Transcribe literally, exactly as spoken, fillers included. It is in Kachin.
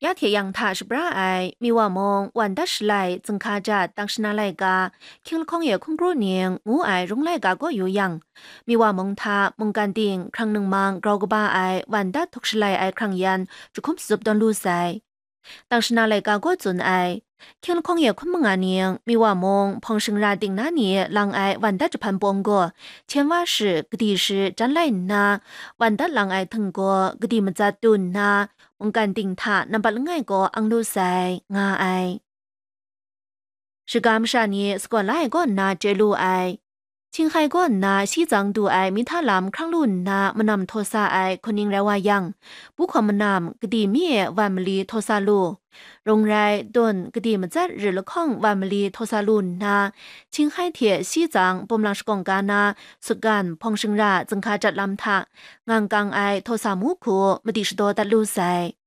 Ya hte yang hta shabra ai Miwa mung Wan Dat Shalai Zinghka Jat Tangshana Laika, Hkying Lahkawng e Hkungru Ning ngu ai rung laika kaw yu yang, Miwa mung hta mungkan ting hkrang ningmang grau kaba ai Wan Dat Htuk Shalai ai hkrang yan jahkum shatup tawn lu sai. Tangshana Laika kaw tsun ai, Hkying Lahkawng e hkum manga ning Miwa mung hpawng shingra ting na ni lang ai Wan Dat jahpan pawng gaw, hten wa shi, gadi shi jan lai nna, Wan Dat lang ai htinggaw gadi matsat tu nna, mungkan ting hta nampat langai kaw ang lu sai, nga ai. Shaga masha ni sagawn la ai kaw nna chye lu ai. Htinghkai kaw nna shi tsang du ai mihta lam hkrang lu nna manam htaw sa ai hkuning rai wa yang, Buhkaw manam gadi mi e wan mali htaw sa lu. Rung rai, Tun gadi matsat rit lahkawng wan mali htaw sa lu nna, Htinghkai hte shi tsang Pumlang shakawng ga na Sutgan hpawng shingra Zinghka Jat lam hta ngang kang ai htaw sa mu hku madi shadaw dat lu sai.